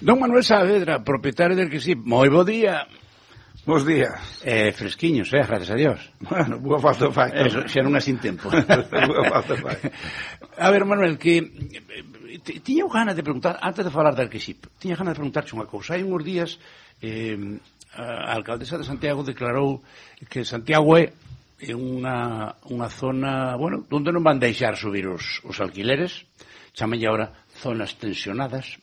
Don Manuel Saavedra, propietario del Arquisip, moi bo día. Bos días. Fresquiños, gracias a Dios. Bueno, boa falta fai. Eso, xa non é sin tempo. Boa falta fai. A ver, Manuel, que tiña ganas de preguntar, antes de falar de Arquisip, tiña ganas de preguntarche unha cousa. Hai uns días, a alcaldesa de Santiago declarou que Santiago é unha zona, bueno, onde non van deixar subir os alquileres, chamanlle agora zonas tensionadas.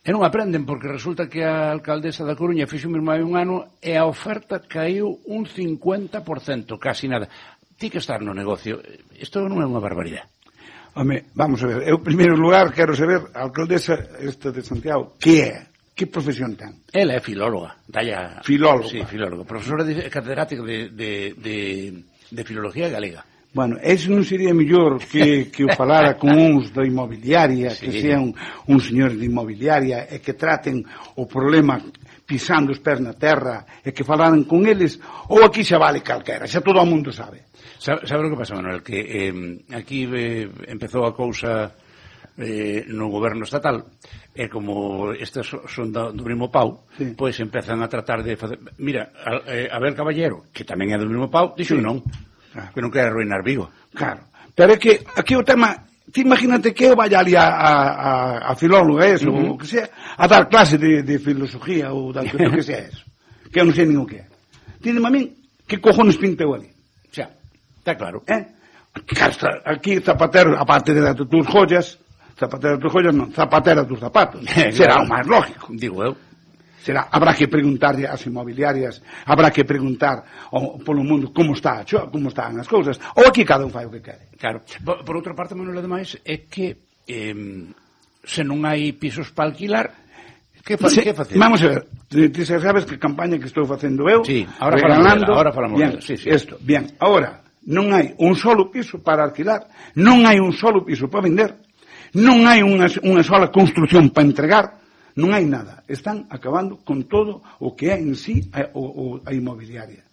E non aprenden, porque resulta que a alcaldesa da Coruña fixo mesmo hai un ano e a oferta caiu un 50%, casi nada. Ti que estar no negocio, isto non é unha barbaridade. Home, vamos a ver, eu, en primeiro lugar, quero saber, a alcaldesa esta de Santiago, que é? Que profesión ten? Ela é filóloga. Filóloga? Sí, filóloga. Profesora catedrática de filología galega. Bueno, ese non sería mellor que o falara con uns da inmobiliaria, sí, que sean uns señores de inmobiliaria e que traten o problema pisando os pés na terra e que falaran con eles, ou aquí xa vale calquera, xa todo o mundo sabe. Sabe o que pasa, Manuel? Que aquí empezou a cousa no goberno estatal e como estas son do mesmo pau, sí, pois empezan a tratar de facer... Mira, Abel Caballero, que tamén é do mesmo pau, dixo que non. Claro. Que non quere arruinar Vigo. Claro. Pero é que aquí o tema, ti imagínate que eu vaya ali a filóloga eso, ou que sea, a dar clase de filosofía ou da que sea eso. Que eu non sei nin o que é. Dime a min, que cojones pinteu ali? Xa, está claro. Aquí Zapatero, aparte de tus joyas, Zapatero de tus joyas non, Zapatero tus zapatos. Será o máis lógico. Digo eu. Habrá que preguntarlle ás inmobiliarias, habrá que preguntar polo mundo como están as cousas, ou aquí cada un fai o que quere. Claro. Por outra parte, Manuel, ademais, é que se non hai pisos para alquilar, que facer? Vamos a ver, ti sabes que campaña que estou facendo eu, sí, ahora falamos bien, sí. Bien, ahora, non hai un solo piso para alquilar, non hai un solo piso para vender, non hai unha sola construción para entregar, non hai nada. Están acabando con todo o que é en sí a inmobiliaria.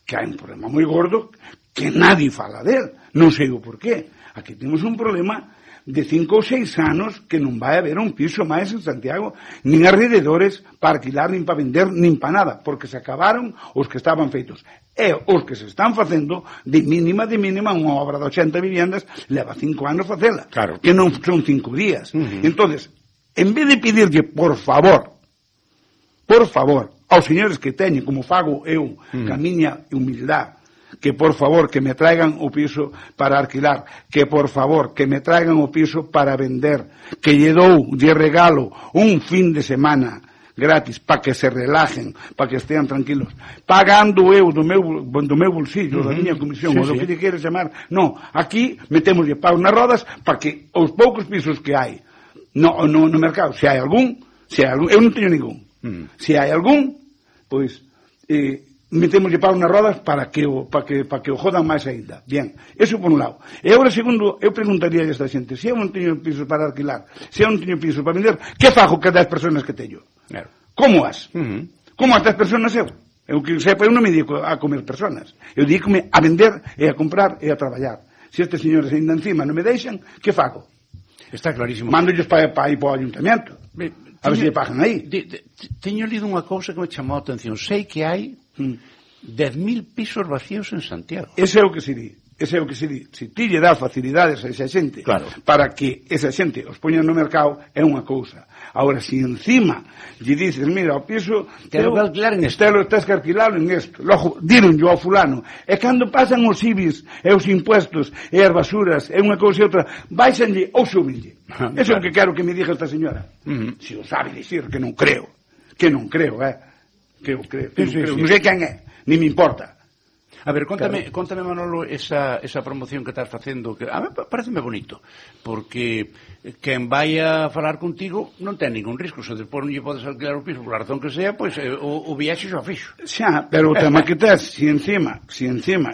Que hai un problema moi gordo que nadie fala del. Non sei o porqué. Aquí temos un problema de 5 ou 6 anos que non vai haber un piso máis en Santiago, nin alrededores para alquilar, nin para vender, nin para nada, porque se acabaron os que estaban feitos. E os que se están facendo, de mínima, unha obra de 80 viviendas, leva 5 anos facela. Claro. Que non son 5 días. Entonces, en vez de pedirlle, por favor, aos señores que teñen, como fago eu, ca miña humildade, que por favor que me traigan o piso para alquilar, que por favor que me traigan o piso para vender, que lle regalo un fin de semana gratis para que se relajen, para que estean tranquilos, pagando eu do meu bolsillo, da miña comisión, ou do que lle quere chamar. No, aquí metémoslle pau nas rodas para que os poucos pisos que hai no mercado, se hai algún, eu non teño ningún. Se hai algún, pois metémoslle pau nas rodas para que o jodan máis aínda. Bien, eso por un lado. E agora, segundo, eu preguntaría a esta xente, se eu non teño pisos para alquilar, se eu non teño pisos para vender, que fago que 10 personas que teño? Claro. Como as? Como as 10 personas eu? Eu que sepa, eu non me dedico a comer personas. Eu dedícome a vender e a comprar e a traballar. Se estes señores ainda encima non me deixan, que fago? Está clarísimo. Mándolles para ir para o ayuntamiento. A ver se lle pagan aí. Teño lido unha cousa que me chamou a atención. Sei que hai 10.000 pisos vacíos en Santiago. Ese é o que se di. Se ti lle dá facilidades a esa xente, claro, para que esa xente os poña no mercado, é unha cousa. Agora, se encima lle dices, mira, o piso quero alquilar en isto, tens que alquilarlo en isto, logo dironlle ao fulano, e cando pasan os IBIs e os impuestos e as basuras e unha cousa e outra, baixanlle ou súbenlle. Eso é o que quero que me diga esta señora. Se o sabe dicir, que non creo, que eu creo. Non sei quen é, ni me importa. A ver, contame, Manolo, esa promoción que estás facendo, que a mí pareceme bonito, porque quen vai a falar contigo non ten ningún risco, se despois non lle podes alquilar o piso por a razón que sea, pois o viaxe xa fixo. Xa, pero o tema que tes, si encima,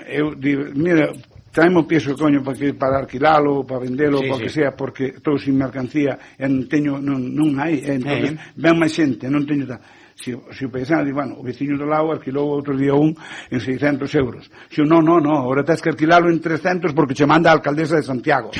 eu digo, mira, traeme o piso, coño, para alquilalo, para vendelo, para que sea, porque estou sin mercancía, e non hai, entón, ven máis xente, non teño tal. Se o paisano di, bueno, o veciño do lado alquilou outro día en 600 euros. Se non, agora tens que alquilalo en 300 porque che manda a alcaldesa de Santiago.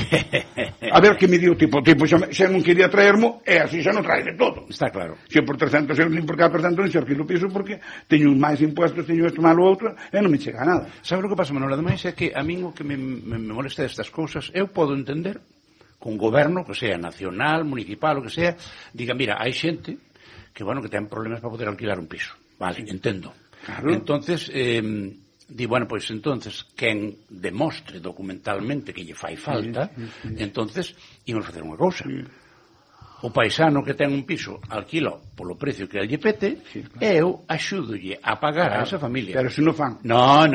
A ver que me dio tipo xa non quería traermo, e así xa non trae de todo. Está claro. Se por 300 euros, por cada 300 euros, xo o piso porque teño máis impuestos, teño isto malo outro, e non me chega a nada. Sabe o que pasa, Manuel? Ademais é que a min o que me molesta destas cousas, eu podo entender que un goberno, que sea nacional, municipal, o que sea, diga, mira, hai xente que, bueno, que ten problemas para poder alquilar un piso. Vale, entendo. Claro. Entonces, di, bueno, pois entonces, quen demostre documentalmente que lle fai falta, entonces, imos facer unha cousa. O paisano que ten un piso alquila polo precio que lle pete, e eu axúdolle a pagar a esa familia. Pero se non fan. No,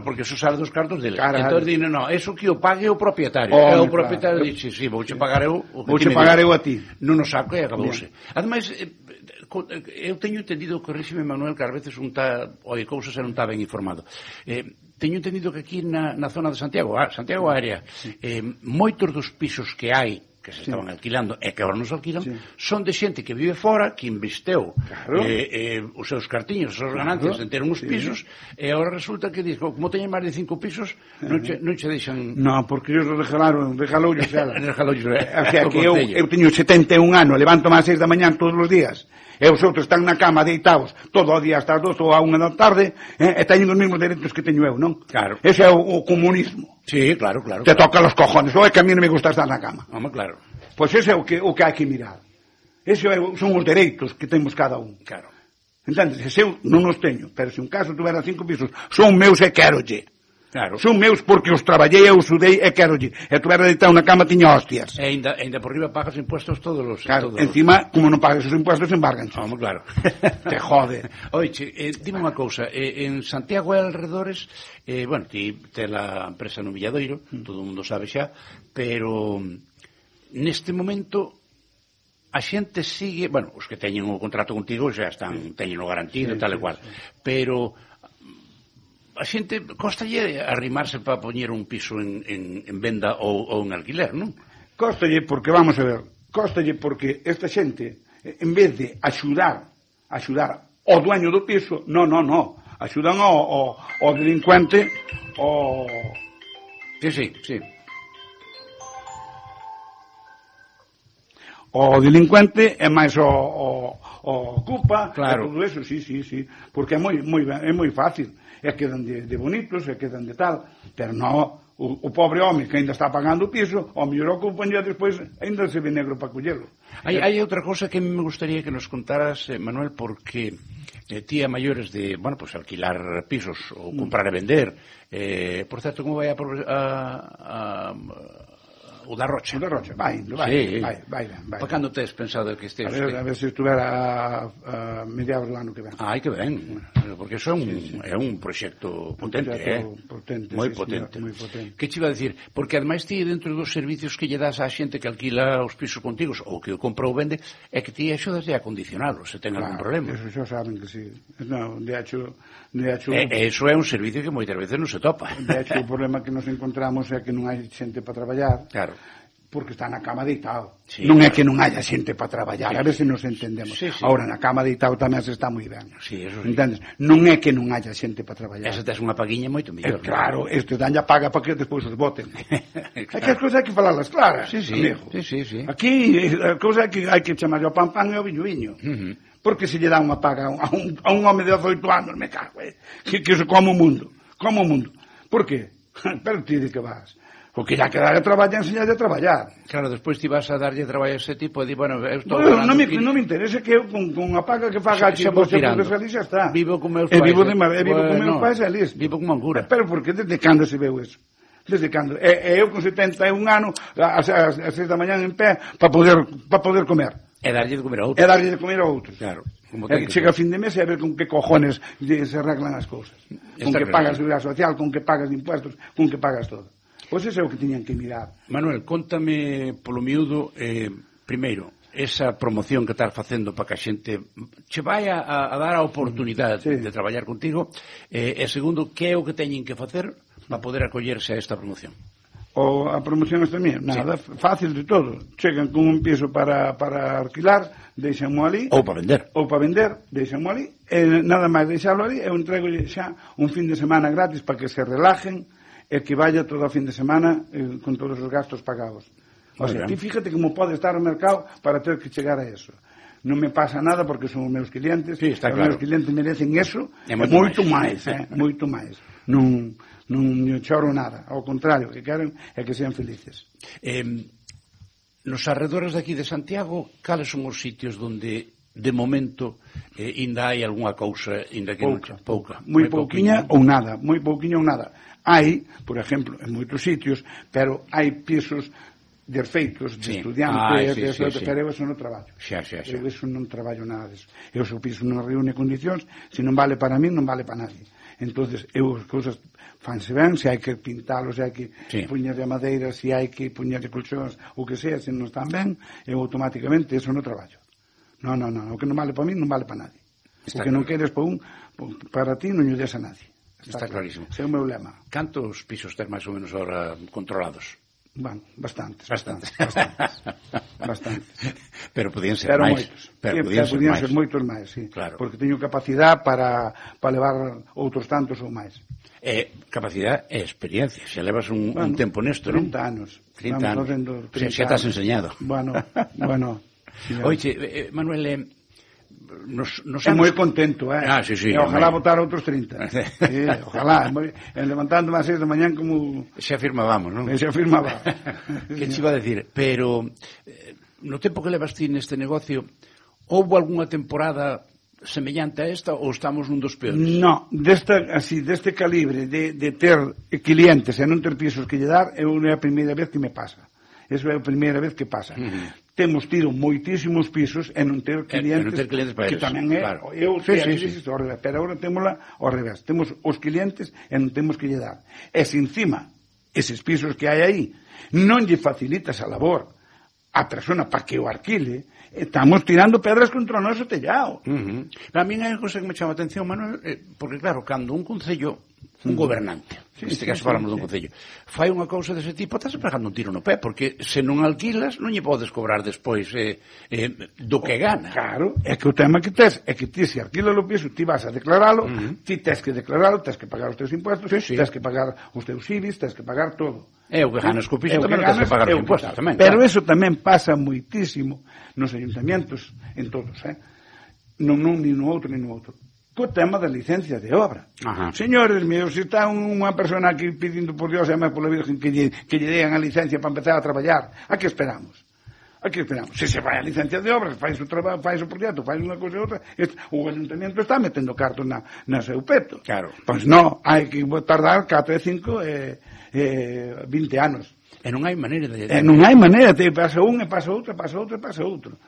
porque eso sale dos cartos dele. Entón, di, no, eso que o pague o propietario. E o propietario dixe, sí, vouche pagar eu a ti. Non o saco e acabouse. Ademais, eu teño entendido, corríxeme, Manuel, que ás veces un tá, oi, cousas e non está ben informado. Teño entendido que aquí na zona de Santiago Área, moitos dos pisos que hai que se estaban alquilando e que agora non se alquilan, son de xente que vive fora, que investeu os seus cartiños, as súas ganancias en ter uns pisos, e agora resulta que diz, como teñen máis de 5 pisos, non che deixan... No, porque ellos regaloulle xela. O sea, que eu teño 71 anos, levanto máis 6 da mañán todos os días, e os outros están na cama deitados todo o día hasta as 2 ou a 1 da tarde, e teñen os mesmos dereitos que teño eu, non? Claro. Ese é o comunismo. Sí, claro. Te toca los cojones, ou é que a mí non me gusta estar na cama. Vamos, claro. Pois ese é o que hai que mirar. Ese son os dereitos que temos cada un. Claro. Entendes? Se eu non os teño, pero se un caso tuvera 5 pisos, son meus e querolle. Claro. Son meus porque os traballei, eu sudei e querolle. E tuvera deitado na cama tiña hostias. E ainda por riba pagas impuestos todos os... Claro, encima, como non pagas os impuestos, embargan. Vamos, claro. Te jode. Oiche, dime unha cousa, en Santiago e alrededores, bueno, ti te la empresa no Villadoiro, todo o mundo sabe xa, pero neste momento a xente sigue, bueno, os que teñen o contrato contigo xa están, teñen o garantido e tal e cual, pero a xente costalle arrimarse para poñer un piso en venda ou en alquiler, non? Costalle porque, vamos a ver, porque esta xente, en vez de axudar ao dueño do piso, no, axudan ao delincuente, Sí. O delincuente é máis o ocupa, claro. Todo eso, sí, porque é moi fácil, e quedan de bonitos, e quedan de tal, pero non, o pobre home que ainda está pagando o piso, o mellor ocupan e despois ainda se ve negro para collelo. Hai outra cosa que me gustaría que nos contaras, Manuel, porque ti a maiores de, bueno, pues alquilar pisos ou comprar e vender, por certo, como vai o da Rocha. O da Rocha, vai. Para cando tes pensado que estés? A ver se estuvera a mediados do ano que ven. Ai, que ben, porque eso é un proxecto potente, moi potente. Que che iba a decir? Porque ademais ti dentro dos servicios que lle das á xente que alquila os pisos contigos ou que o compra ou vende, é que ti axudas a condicionalo, se ten algún problema. Eso xa saben que sí. Non, de hecho... Eso é un servicio que moitas veces non se topa. De hecho, o problema que nos encontramos é que non hai xente para traballar. Claro. Porque está na cama deitado. Sí, non é que non haya xente para traballar, a ver se nos entendemos. Sí. Ahora, na cama deitado tamén se está moi ben. Sí, eso sí. Entendes? Non é que non haya xente para traballar. Esa tes unha paguiña moito mellor. Claro, este daña paga para que despois os voten. Claro. É que as cousas hai que falarlas claras, amigo. Sí. Aquí, a cousa é que hai que chamar o pan e o viño. Porque se lle dá unha paga a un home de 18 anos, me cago, que se come o mundo. Por que? Pero ti de que vas? O que ya queda de traballar, enseñarlle a traballar. Claro, despois ti vas a darlle traballo a ese tipo e di, bueno, eu estou non me interesa que eu con a paga que faga aquí por ser profesional xa está. Vivo con meus pais. Vivo con meus pais e listo. Vivo como angura. Pero porque desde cando se veu eso? Desde cando? E eu con 71 anos ás 6 da mañán en pé para poder comer. E darlle de comer a outros. E darlle de comer a outros. Claro. Chega a fin de mes e a ver con que cojones se arreglan as cousas. Con que pagas seguridade social, con que pagas impuestos, con que pagas todo. Pois ese é o que tiñan que mirar. Manuel, contame polo miúdo, primeiro, esa promoción que estás facendo para que a xente che vai a dar a oportunidade de traballar contigo, e segundo, que é o que teñen que facer para poder acollerse a esta promoción? A promoción esta mía, nada, fácil de todo. Chegan con un piso para alquilar, deixanmo ali. Ou para vender, deixanmo ali. Nada máis deixalo ali, eu entrego xa un fin de semana gratis para que se relajen, e que vaya todo o fin de semana con todos os gastos pagados. O sea, ti fíjate como pode estar o mercado para ter que chegar a eso. Non me pasa nada porque son os meus clientes, sí, está os claro. meus clientes merecen eso e moito máis, moito máis. Non choro nada, ao contrario, que queren é que sean felices. Nos arredores de aquí de Santiago, cales son os sitios onde de momento ainda hai algunha cousa, ainda que pouca, moi pouquiña ou nada, moi pouquiña ou nada. Hai, por exemplo, en moitos sitios, pero hai pisos de feitos, de estudiantes, pero eu eso non traballo. Eu eso non traballo nada disso. Eu se o piso non reúne condicións, se non vale para mí, non vale para nadie. Entonces, eu as cousas fanse ben, se hai que pintalo, se hai que puñar de madeira, se hai que puñar de colchóns, o que sea, se non están ben, eu automáticamente eso non traballo. Non, o que non vale para mí, non vale para nadie. O que non queres para ti, non lle des a nadie. Está clarísimo. Ese é o meu lema. Cantos pisos ter máis ou menos ahora controlados? Bueno, bastantes. Pero podían ser máis. Podían ser moitos máis, sí. Claro. Porque teño capacidade para levar outros tantos ou máis. Capacidade e experiencia. Se levas un tempo nesto, non? 30 anos. 30 anos. Xa te has enseñado. Bueno. Oye, Manuel, é moi contento, sí, ojalá votar outros 30. Ojalá, levantándome a 6 da mañán como... Se afirmábamos, non? Se afirmaba. Que te iba a decir? Pero, no tempo que levas ti neste negocio, houve algunha temporada semellante a esta ou estamos nun dos peores? No, deste calibre de ter clientes e non ter pisos que lle dar, é a primeira vez que me pasa. Eso é a primeira vez que pasa. Temos tido moitísimos pisos e non ter clientes para que tamén é, claro. Pero agora témola ao revés. Temos os clientes e non temos que lle dar. E se encima, eses pisos que hai aí, non lle facilitas a labor a persona para que o alquile, estamos tirando pedras contra o noso tellado. A mí hai unha cosa que me chama a atención, Manuel, porque claro, cando un concello, un gobernante, neste caso falamos dun concello, fai unha cousa dese tipo, estás pegando un tiro no pé, porque se non alquilas, non lle podes cobrar despois do que gana. Claro, é que o tema que tes é que ti se alquilas o piso, ti vas a declaralo, ti tes que declaralo, tes que pagar os teus impuestos, tes que pagar os teus IBIs, tes que pagar todo. É o que ganas co piso, tamén tes que pagar os impuestos tamén. Pero eso tamén pasa moitísimo nos ayuntamientos, en todos, non ni no outro, ni no outro. Co tema da licencia de obra. Señores meus, se está unha persona aquí pedindo por Dios e máis pola Virgen que lle dean a licencia para empezar a traballar, a que esperamos? Se se vai a licencia de obra, faz o traballo, faz o proxecto, faz unha cousa e outra, o ayuntamiento está metendo cartos na seu peto. Claro. Pois non, hai que tardar 4, 5 20 anos. E non hai maneira de... non hai maneira, te pasa un e pasa outro, pasa outro e pasa outro.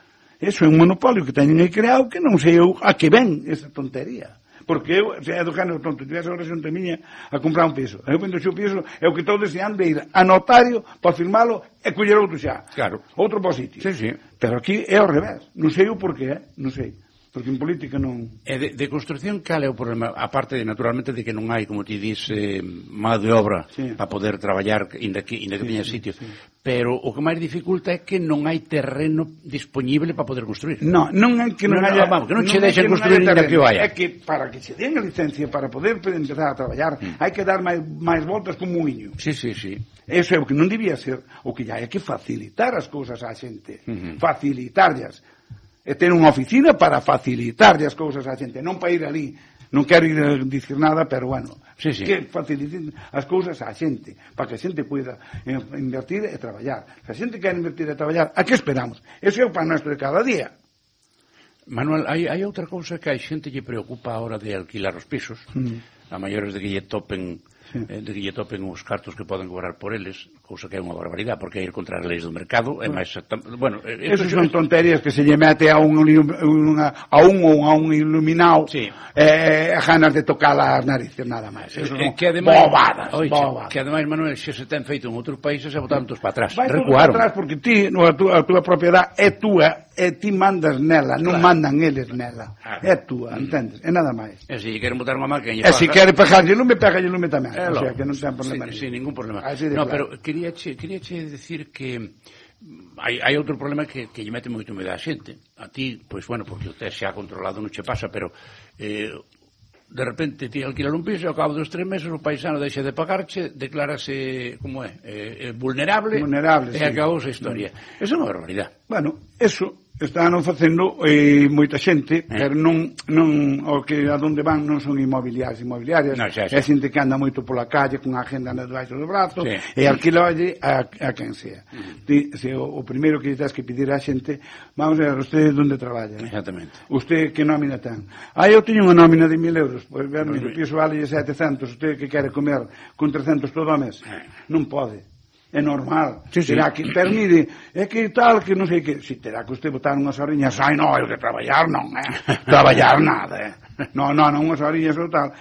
Eso é un monopolio que teñen aí creado que non sei eu a que ven esa tontería. Porque eu, se é do género tonto, tivese ahora xunta miña a comprar un piso. Eu vendo o seu piso, é o que estou deseando ir a notario para firmalo e coller outro xa. Claro. Outro positivo. Sí. Pero aquí é ao revés. Non sei o porqué, non sei. Porque en política non... E de construcción, cal é o problema? Aparte, naturalmente, de que non hai, como ti dis, má de obra para poder traballar, inda que teña sitio. Pero o que máis dificulta é que non hai terreno disponible para poder construir. Non é que non haya... Que non che deixen construir inda que o haya. É que para que se den a licencia, para poder empezar a traballar, hai que dar máis voltas como un muiño. Sí. Eso é o que non debía ser. O que hai que facilitar as cousas á xente. Facilitarlas. E ter unha oficina para facilitarlle as cousas á xente, non para ir ali. Non quero ir a dicir nada, pero bueno, que faciliten as cousas á xente, para que a xente poida invertir e traballar. Se a xente quer invertir e traballar, a que esperamos? Eso é o pan nuestro de cada día. Manuel, hai outra cousa que a xente lle preocupa a hora de alquilar os pisos, a maiores de que lle topen os cartos que poden cobrar por eles, cousa que é unha barbaridade, porque é ir contra as leis do mercado, é máis... Bueno, esos son tonterías que se lle mete a un iluminado ganas de tocar as narices, nada máis. Bobadas. Que ademais, Manuel, se ten feito en outros países, se botaron todos para atrás. Recuaron. Para atrás porque ti, a túa propiedade é túa, e ti mandas nela, non mandan eles nela. É túa, entendes? É nada máis. E se queren botar unha máquina... E se quere pegarlle lume, pégalle lume tamén. O sea, que non ten problema. Sin ningún problema. No, pero queríache decir que hai outro problema que lle mete moito medo a xente. A ti, pois bueno, porque o test xa controlado non che pasa, pero de repente ti alquilar un piso e ao cabo dos 3 meses o paisano deixa de pagarche, declárase, como vulnerable, e acabou a historia. Eso é unha barbaridade. Bueno, eso están facendo moita xente, pero non o que a donde van non son inmobiliarias, é xente que anda moito pola calle con a agenda debaixo do brazo e alquilalle a quen sea. O primeiro que tens que pedir a xente, vamos a ver, usted onde traballa? Exactamente. Usted que nómina ten? Eu teño unha nómina de 1.000 euros, pois o piso vale 700, usted que quere comer con 300 todo o mes? Non pode. É normal, terá que, pero mire, é que tal, que non sei que, si terá que usted botar unhas horiñas, non, eu de traballar non, traballar nada, non, unhas horiñas ou tal,